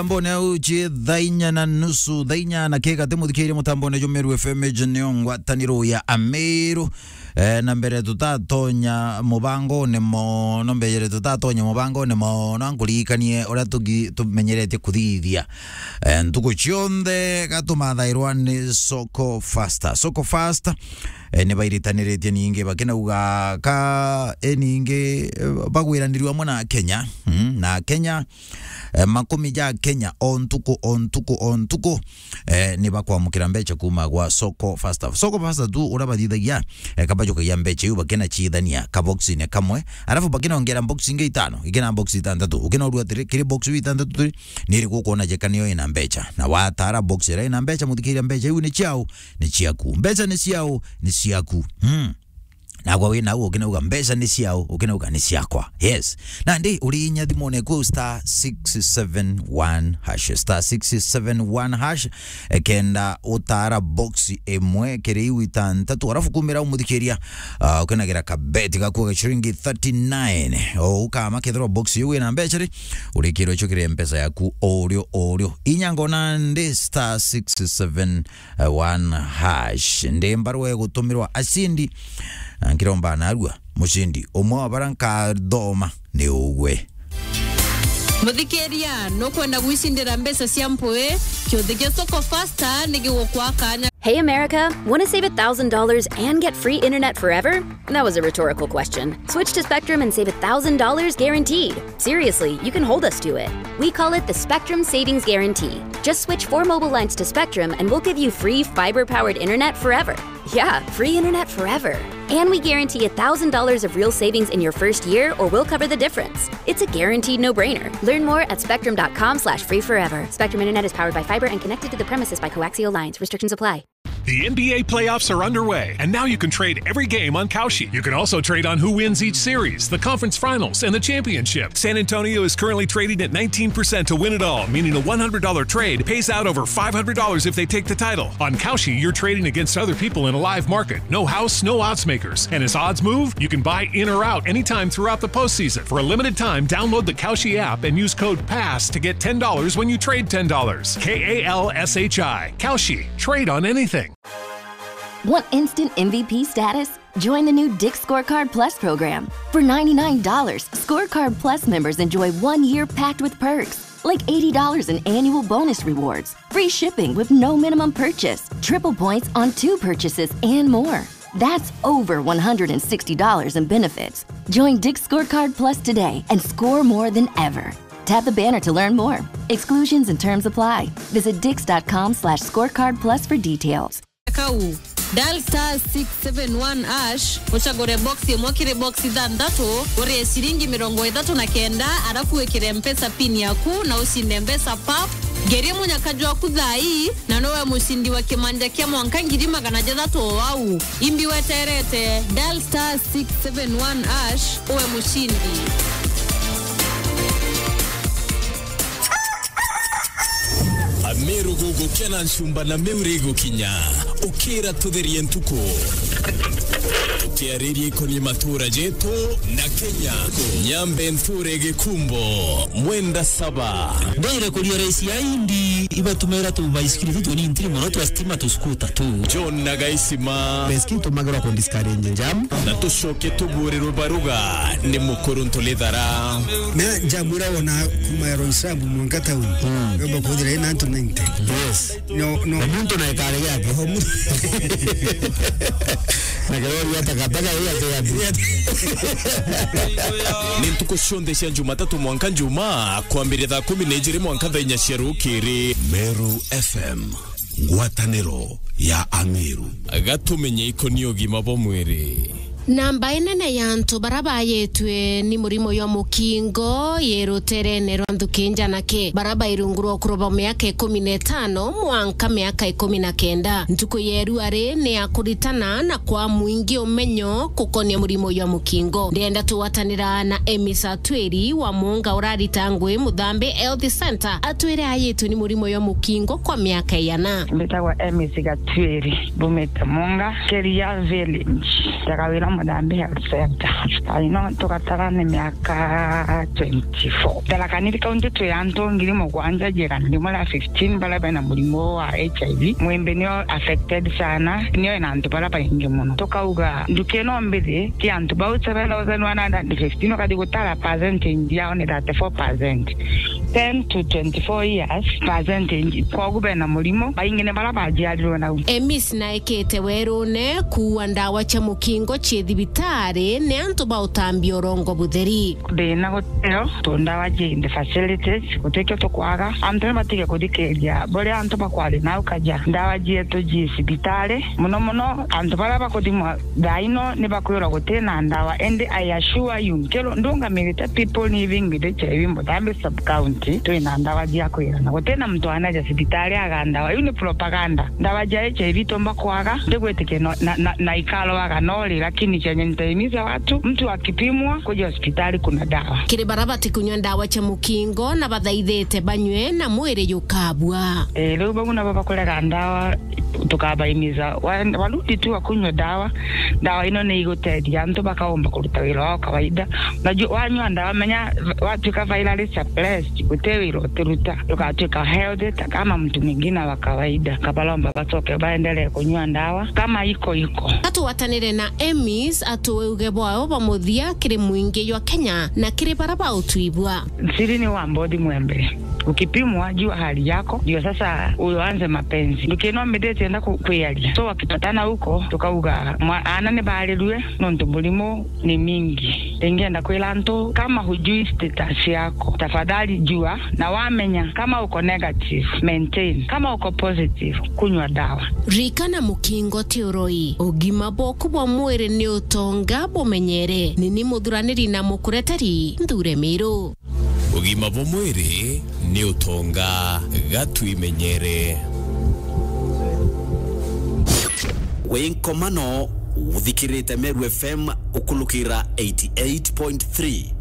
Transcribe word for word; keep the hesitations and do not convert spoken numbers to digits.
Mutambone au cie thaa inya na nusu, thaa inya na kigati, muthikiirie mutambone jwa Meru F M, iji nio ngwataniro ya Ameru. Eh, na mbere tutatonya mubangone mono, mbere tutatonya mubangone mono, nkuririkanie uria tugi-, tumenyeretie kuthithia, eh, ntuku cionthe gatumathairwa ni Soko Fasta. Soko Fasta, eh, ni bairitaniritie ningi bakinauga ka, eh, ningi, eh, bagwiranirua amwe na Kenya, mm, na Kenya, eh, makumi ja Kenya o ntuku, o ntuku, o ntuku, eh, ni bakwamukira mbeca kuuma gwa Soko Fasta. Soko Fasta tu uria bathithagia, eh, kabajukagia mbeca iu bakinaciithania kaboxine kamwe, arafu bakinongera box ingi itano, ikina box itantatu. Ukinaurua atiri, kiri box iu itantatu turi, ni iriku ukwona jeka niyo ina mbeca. Na watara box iria ina mbeca, muthikiria, mbeca iu ni ciao, ni ciaku. Mbeca ni ciao, ni ciaku. Hmm. Nagwa wi nau, ukinauga mbeca ni ciao, ukinauga ni ciakwa. Yes. Nandi uri inya thimone kuu star six seven one hash, star six seven one hash, eh, kenda utara box imwe kiri iu itantatu, arafu kumira umuthikiria, ah, ukinagira kabeti gaku ga ciringi thirty-nine. O ukama kethirwa box iu ina mbeca ri, urikirwe icio kiri mpesa yaku o urio o urio. Inya ngona ndi star six seven one hash. Ndi mbarua igutumirwa acindi, na nkiromba narua mucindi umwe wa bara nkathoma ni ugwe. Muthikiria, nukwenda gwicindira mbeca cia mpui? Kiuthi gia Soko Fasta ni gigukwa kanya. Hey, America, want to save a thousand dollars and get free internet forever? That was a rhetorical question. Switch to Spectrum and save a thousand dollars guaranteed. Seriously, you can hold us to it. We call it the Spectrum Savings Guarantee. Just switch four mobile lines to Spectrum and we'll give you free fiber powered internet forever. Yeah, free internet forever. And we guarantee a thousand dollars of real savings in your first year, or we'll cover the difference. It's a guaranteed no brainer. Learn more at spectrum dot com slash free forever. Spectrum Internet is powered by fiber and connected to the premises by coaxial lines. Restrictions apply. The N B A playoffs are underway, and now you can trade every game on Kalshi. You can also trade on who wins each series, the conference finals, and the championship. San Antonio is currently trading at nineteen percent to win it all, meaning a one hundred dollar trade pays out over five hundred dollars if they take the title. On Kalshi, you're trading against other people in a live market. No house, no odds makers. And as odds move, you can buy in or out anytime throughout the postseason. For a limited time, download the Kalshi app and use code pass to get ten dollars when you trade ten dollars. K A L S H I. Kalshi. Trade on anything. Want instant M V P status? Join the new Dick's Scorecard Plus program. For ninety-nine dollars, Scorecard Plus members enjoy one year packed with perks, like eighty dollars in annual bonus rewards, free shipping with no minimum purchase, triple points on two purchases, and more. That's over one hundred sixty dollars in benefits. Join Dick's Scorecard Plus today and score more than ever. Tap the banner to learn more. Exclusions and terms apply. Visit dicks dot com slash scorecard plus for details. Kau, dial star six seven one hash, ucagure box imwe kiri box ithanthatu, urie ciringi mirongo ithatu na kenda, arafu wikire Mpesa pin yaku na ucinde mbeca pap. Ngerie munyaka jwaku thaa ii, na nowe mucindi wa kimanja kia mwanka ngiri magana jathatu o au. Imbi weterete, dial star six seven one hash, uwe mucindi. Ameru gugukena ncumba na miuri igukinya. Ukira tutherie ntuku. Tukiariria ikonie matura jetu na Kenya. Nyambe nture gikumbo. Mwenda saba. Ndire kuria raisi ya indi ibatumira tu baisikiri tu tunini ntiri muno twa stima tu skuta tu. John na Gaisima. Baisikiri tumagirwa ku discourage jam. Na tucoke tuburirwe baruga ni mukuru Ntulithara. Me njamwira wona kuma Ero Islam mwanka tauni. Mm. Yomba kuthira ina antu ninety. Yes. No, no. Na muntu na ikare yake. Omu- Na kirori ya takataka hiyo ati ati. Ni ntuku cionthe cia Jumatatu mwanka Njumaa, kwambiria thaa kumi na ijiri mwanka thaa inya cia rukiri. Meru F M, ngwataniro ya Ameru. Gatumenye ikoni ugima bwa mwiri. Namba inene ya antu bara bayitwe ni murimo jwa mukingo yi ruterene rwa nthuki njanake, bara bai rungu rwa ukuru bwa miaka ikumi na itano mwanka miaka ikumi na kenda. Ntuku ya irua ri ni ya kuritana na kwa mwingi umenyo kukonia murimo jwa mukingo. Ndienda tugwatanira na Emis Atwiri wa Muunga urarita ngui Muthambi Health Centre, atwire ayitwe ni murimo jwa mukingo kwa miaka iana. Mbitagwa Emis Gatwiri, mbumite Muunga, Keria Village. Ndaga wira Madhambi Health Center. Aino tugatara ni miaka twenty-four. Tharaka Nithi County twi antu ngiri mugwanja igana rimwe ria fifteen baria bena murimo wa H I V. Mwimbi nio affected sana, nio ina antu baria baingi muno. Tukauga nduki ino mbithi ti antu bau seven thousand one hundred fifteen ukathi gutara percentage yao ni thirty-four percent. Ten to twenty-four years percentage. Kwogu bena murimo, baingi ni baria bajiarirwe nau. Emis naekete werune kuua ndawa cia mukingo cie thibitari ni antu ba utambia urongo butheri. Thina guteo, tu ndawa cie in the facilities, gutikio tukwaga. Antu ni batige kuthikiria buria antu bakwaria nau kaja. Ndawa cietu ji cibitari, muno muno antu baria bakuthimwa thaa ino ni bakwirwa gutina ndawa, indi I assure you, nkiro ndungamirite people living with H I V Muthambi sub county, twina ndawa cia kwirana. Gutina muntu anaja cibitari aga ndawa. Iu ni propaganda. Ndawa cia H I V tumba kwaga, ndigwitikia no, na, na, na ikarwaga no ri, lakini chenye nitaimiza watu, mtu akipimwa, kuja hospitali kuna dawa. Kiri baria batikunywa ndawa cia mukingo na bathaithite banywe na mwiri jukabua. Eh, riu bau nabo bakurega ndawa, tukabaimiza. Wa-, warudi tu wakunywa ndawa, ndawa ino ni igutethia antu bakaumba kuruta wira wao kawaida. Unajua, wanywa ndawa, menya, watuika virally suppressed, guti wira utiruta, ukatuika healthy ta kama mtu mwingine wa kawaida. Kabalomba bacoke baendelee kunywa ndawa kama iko iko. Ka tugwatanire na Emis atue uge bwao bwa muthia kiri mwingi jwa Kenya na kiri baria bautwibua. Siri ni wa mbothi mwembe. Ukipimwa, jua hali yako, ndio sasa uanze mapenzi. Ndukino mbithite enda ku-, kwiaria. So, wakipatana huko, tukauga, mwa-, ana ni barirue, nontu murimu ni mingi. Ingenda kwira antu, kama hujui status yako, tafadhali jua, na wamenya, kama uko negative, maintain. Kama uko positive, kunywa dawa. Ririkana, mukingo ti uroi. Ugima bwaku bwa mwiri ni utonga, bumenyere. Ni ni muthuraniri na mukureteri, Nthure Miru. Ugima bwa mwiri ni utonga, ga twimenyere. Wi nkomano, uthikirite Meru F M ukulukira eighty eight point three.